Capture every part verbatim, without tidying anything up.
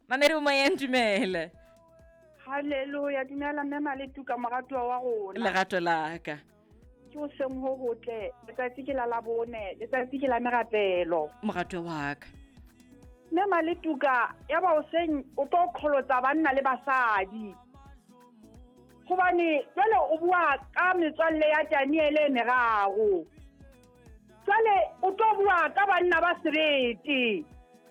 Mamedi o moyeng, dumela. Hallelujah, dumela mme Maletuka, moratuwa wa rona. Lerato la ka. Ke o seng ho hotle, letsatsi ke la labone, letsatsi ke la merapelo. Moratuwa wa ka. Mme Maletuka, ya ba o seng o tlo kholotsa banna le basadi. Hobane jwale o bua ka metswalle ya Daniele e meraro. Jwale o tlo bua ka banna ba sebete.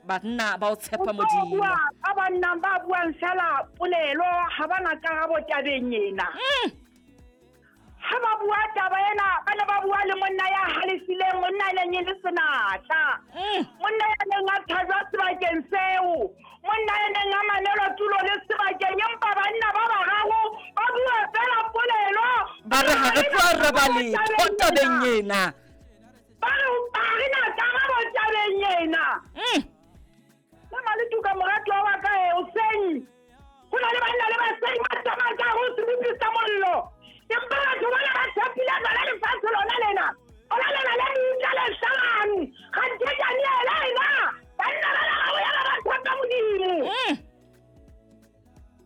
Banna ba o tshepa O tlo Modimo. bua ka banna ba buang fela polelo, ha ba na karabo tabeng ena. Mm. Ha ba bua taba ena, ba ne ba bua le monna ya halefileng, monna e neng e le senatla. Mm. Monna ya neng a thajwa sebakeng seo, monna ya neng a manelwa tulo le sebakeng, empa banna ba bararo ba bua fela polelo. Ba re ha re tlo araba letho tabeng ena. Ba re ha re na karabo tabeng ena. Mm. Mme Maletuka, moratuwa wa ka, e, hoseng ho na le banna le basadi ba tsamayang ka ho sebopi sa mollo. Empa batho bana ba tshepile lona lefatshe lona lena. Lona lena le meutla le hlabang. Kganthe Daniele ena, banna ba bararo ya ba ba tshepa Modimo. Mm.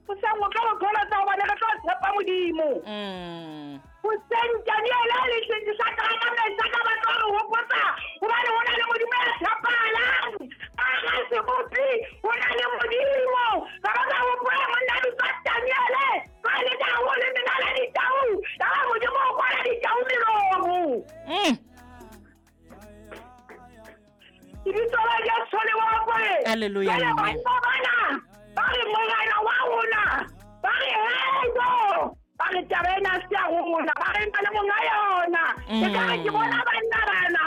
Hoseng o tlo re kholotsa hobane re tlo tshepa Modimo. Mm. Hoseng Daniele le Shadraka, Meshaka ba tlo re hopotsa hobane ho na le Modimo ya tshepahalang. Ka hara sebopi ho na le Modimo. Ba ba ka hopola monna a bitswa Daniele, ba le tau le mena la ditau. Ya ba Modimo o kwala ditau melomo. Mm. Lebitso la Jesu le bokwe. Hallelujah. Jwale banna bana ba re morena wa rona, ba re heyo, ba re taba ena se ya rona, ba re nka le monga yona. Ke ka re ke bona banna bana.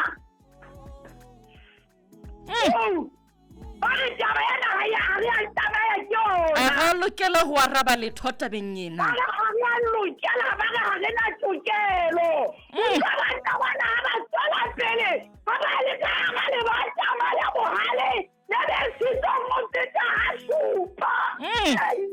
Mm. Ba re taba ena ha ya, ha re a tsamaya ke yona. Ha re lokela ho araba letho tabeng ena. Ba re ha re a lokela, ba re ha re na tokelo. Mm. Utlwa banna bana ha ba tswela pele, ba ba le ka hara lebanta ba le bohale, le be sitong ho feta ha supa. Mm. Ai.